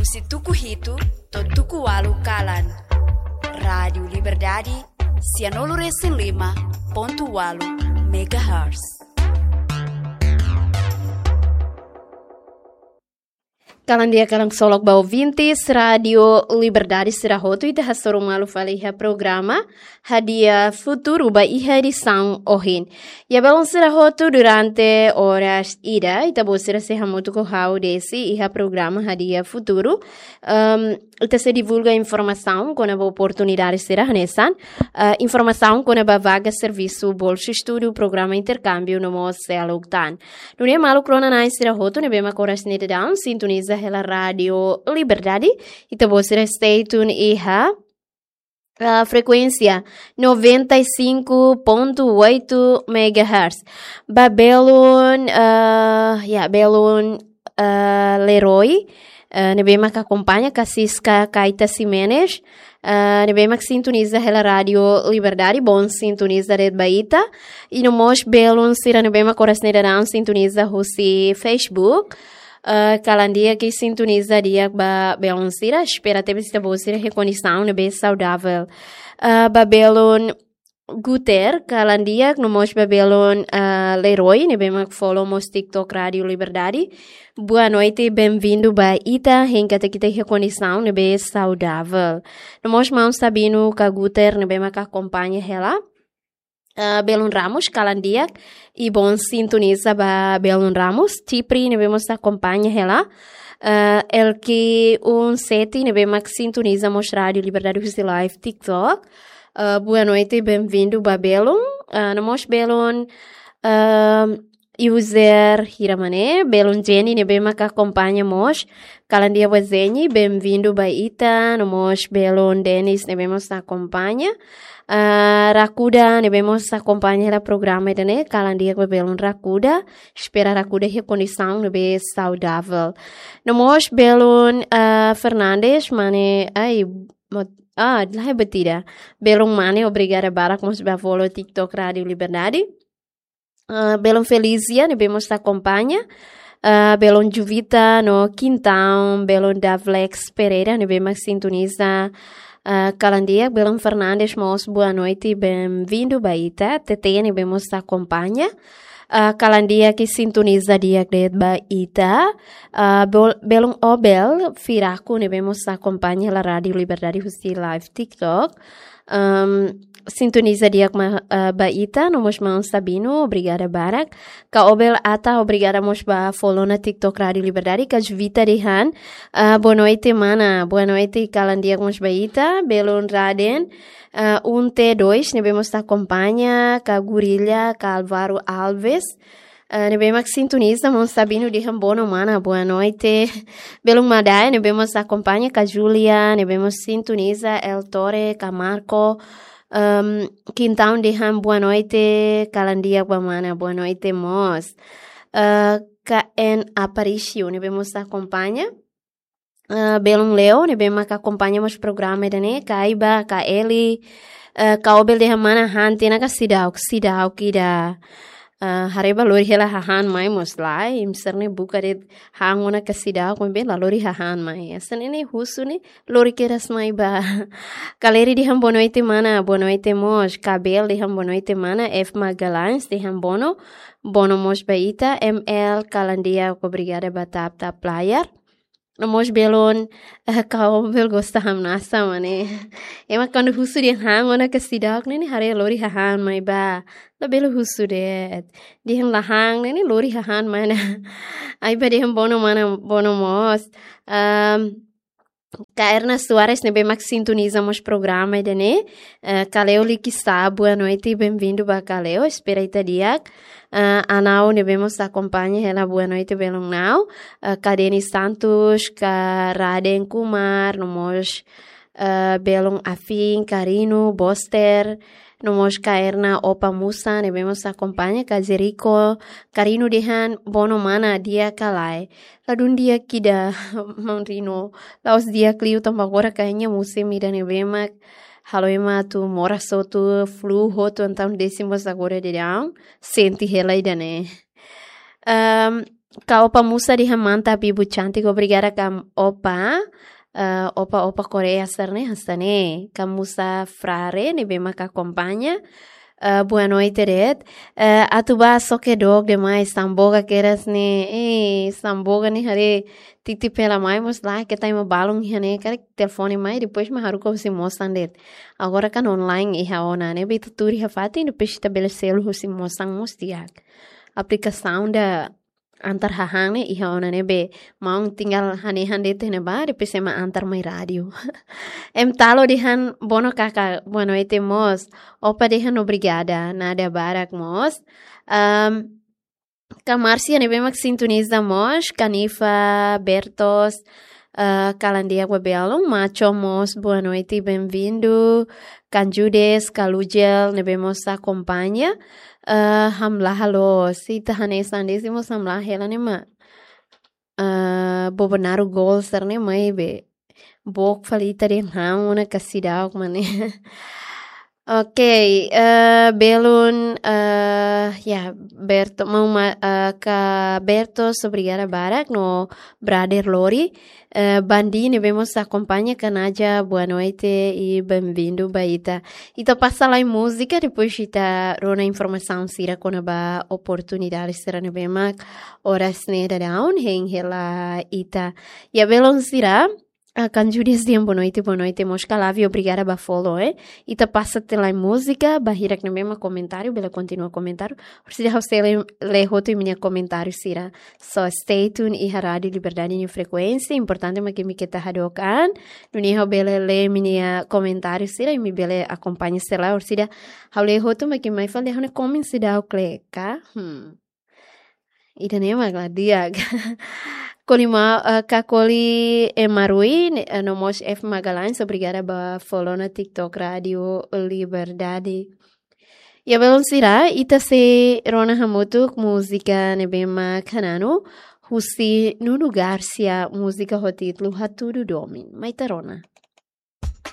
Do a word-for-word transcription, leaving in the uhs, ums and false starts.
Husi tuku hitu to'o tuku ualu kalan. Rádiu Liberdade, sianulu resin lima pontu ualu megahertz. Kalan di'ak, kalan ksolok ba ouvintes Rádiu Liberdade sira hotu, ita hasoru malu fali iha programa Hadi'a Futuru ba iha edisaun ohin. Ya, belun sira hotu, durante oras ida ita-boot sira sei hamutuk ho ha'u Desi iha programa Hadi'a Futuru. Em, ita sei divulga informasaun kona-ba oportunidade sira hanesan, eh, informasaun kona-ba vaga servisu, bolsa estudu, programa interkámbiu no mós seluk tan. Nune'e maluk rona-na'in sira hotu ne'ebé mak oras ne'e daudaun sintoniza hela Rádiu Liberdade, ita-boot sira stay tune iha, ah, frekuénsia noventa e cinco ponto oito megahertz. Ba belun, ah, ya, belun, ah, Leroy, ah, ne'ebé mak akompaña, ka Siska Kaita Ximenes, ah, ne'ebé mak sintoniza hela Rádiu Liberdade, bon sintoniza de'it ba ita. I no mós belun sira ne'ebé mak oras ne'e daudaun sintoniza husi Facebook. Ah, kalan di'ak, sintoniza di'ak ba belun sira, espera tebes ita-boot sira iha kondisaun ne'ebé saudavel. Ah, ba belun Guter, kalan di'ak, no mós ba belun, ah, Leroy, ne'ebé mak follow mós TikTok Rádiu Liberdade. Boa noite, bem-vindo ba ita, hein katak ita iha kondisaun ne'ebé saudavel. No mós maun Sabino ka Guter, ne'ebé mak akompaña hela. Ah, belun Ramos, kalan di'ak, i bon sintoniza ba belun Ramos, Tipri, ne'ebé mós akompaña hela. Ah, Elki un sete, ne'ebé mak sintoniza mós Rádiu Liberdade husi live TikTok. Ah, boa noite, bem-vindo ba belun. Ah, no mós belun, ah, user Hiramane, belun Jenny, ne'ebé mak akompaña mós. Kalan di'ak ba Jenny, bem-vindo ba ita, no mós belun Dennis, ne'ebé mós akompaña. Ah, Rakuda, ne'ebé mós akompaña hela programa ida-ne'e, kalan di'ak ba belun Rakuda, espera Rakuda iha kondisaun ne'ebé saudavel. No mós belun, ah, Fernandes, mane, ai, mot-, ah, la iha buat ida. Belun Mane, obrigada barak mós ba follow TikTok Rádiu Liberdade. Ah, belun Felizia, ne'ebé mós akompaña. Ah, belun Juvita no Quintão, belun Davlex Pereira, ne'ebé mak sintoniza, ah, kalan di'ak, belun Fernandes mós, boa noite, bem-vindo ba ita. Tete, ne'ebé mós akompaña. Ah, kalan di'ak, sintoniza di'ak de'it ba ita. Ah, bel-, belun Obel Firaku, ne'ebé mós akompaña hela Rádiu Liberdade husi live TikTok. Em, sintoniza di'ak ma-, eh, ba ita, no mós maun Sabino, obrigada barak. Ka Obel Ata, obrigada mós ba follow ona TikTok Rádiu Liberdade, ka Juvita dehan, ah, boa noite, mana, boa noite, kalan di'ak mós ba ita, belun Raden, ah, un T dois, ne'ebé mós akompaña, ka Gurilla, ka Álvaro Alves, eh, ne'ebé mak sintoniza, maun Sabino dehan boa noite, mana, boa noite. Belun Madae, ne'ebé mós akompaña, ka Julia, ne'ebé mós sintoniza, El Torre, ka Marco, em, Quintão dehan boa noite, kalan di'ak ba mana, boa noite mós. Eh, ka N Aparício, ne'ebé mós akompaña. Eh, belun Leo, ne'ebé mak akompaña mós programa ida-ne'e, ka Aiba, ka Eli, eh, ka Obel dehan mana han tiha ona ka seidauk, seidauk ida. Eh, haree ba lori hela hahán mai mós lae, imi sira-ne'e buka de'it han ona ka seidauk, maibé la lori hahán mai. Hanesan ne'e husu ne'e, lori kedas mai ba. Ka Leri dehan boa noite mana, boa noite mós. Ka Bel dehan boa noite mana, F Magalhães dehan boa noite, boa noite mós ba ita, M L kalan di'ak, obrigada ba tap tap layar. No mós belun, eh, ka Obel gosta hamnasa mane. Ema kuandu husu dehan han ona ka seidauk ne'e, ne'e haree lori hahán mai ba. Labele husu de'it. Dehan la han ne'e, ne'e lori hahán mai ona. Aiba dehan boa noite mana, boa noite mós. Em, ka Erna Soares ne'ebé mak sintoniza mós programa ida-ne'e. Eh, Kaleo Likisa, boa noite, bem-vindo ba Kaleo, espera ita di'ak. Eh, Anau ne'ebé mós akompaña hela, boa noite, belun Nau. Eh, ka Denis Santos, ka Raden Kumar, no mós, eh, belun Afin, Karino, Boster, no mós ka Erna Opa Musa, ne'ebé mós akompaña, ka Jerico, Karino dehan boa noite mana, di'ak ka lae. Ladún di'ak ida, maun Rino. La'ós di'ak liu tanba agora kayaknya musim ida ne'ebé mak halo ema atu moras hotu, flu hotu, entaun Desi mós agora daudaun sente hela ida-ne'e. Em, Ka Opa Musa dehan mantap, ibu cantik, obrigada ka Opa. Eh, Opa, Opa Korea sira-ne'e, hanesan ne'e. Ka Musa Frare, ne'ebé mak akompaña. Eh, boa noite de'it. Eh, atu bá só ke dok demais, Samboga kedas ne'e. Eh, Samboga ne'e haree titip hela mai mós la, ke taima balun iha ne'e, karik telefone mai, depois mak haruka husi mosan de'it. Agora kan online iha ona ne'e, be ita tuur iha fatin, depois ita bele selu husi mosan mós di'ak. Aplikasaun ida antar hahán ne'e iha ona ne'e, be maun tinggal hanehan de'it ne'ebá, depois ema antar mai rádiu. Em Talo dehan bono kaka, boa noite mós. Opa dehan obrigada, nada barak mós. Ahm, ka Márcia ne'ebé mak sintoniza mós, Kanifa Bertos, ah, Kalandia Guabelon, Macho mós, boa noite, bem-vindo. Kanjudes, Kalujel, ne'ebé mós akompaña. Ah, hamlaha loos, ita hanesan de'it mós hamlaha hela ne'e mak. Ah, Bobonaro gol sira-ne'e mai be. Book fali ita dehan han ona ka seidauk mak ne'e. Ok, eh, belun, eh, ya, Berto, maun ma-, eh, ka Berto, obrigada barak no brother Lori. Eh, Bandi ne'ebé mós akompaña, Kanaja, boa noite e bem-vindo ba ita. Ita pasa lai múzika, depois ita rona informasaun sira kona-ba oportunidade sira ne'ebé mak oras ne'e daudaun hein hela ita. Ya belun sira, ah, Kanjudes dehan boa noite, boa noite, mós ka Lavi, obrigada ba follow, eh. Ita pasa tiha lai múzika, ba hirak ne'ebé mak komentáriu, bele kontinua komentáriu. Orsida ha'u sei lee, lee hotu imi-nia komentáriu sira. So stay tuned iha Rádiu Liberdade nia frekuénsia, importante mak imi keta hadook an. Nune'e ha'u bele lee imi-nia komentáriu sira, imi bele akompaña sira lai, orsida ha'u lee hotu mak imi mai fali ha'u-nia komen seidauk lee ka. Hmm. Ida-ne'e mak la di'ak. Koli ma-, eh, ka Koli, eh, Marui, ne-, eh, no mós F Magalhães, obrigada ba follow ona TikTok Rádiu Liberdade. Ya belun sira, ita sei rona hamutuk múzika ne'ebé mak hananu, husi Nuno Garcia, múzika ho títulu Hatudu Domin. Mai ita rona.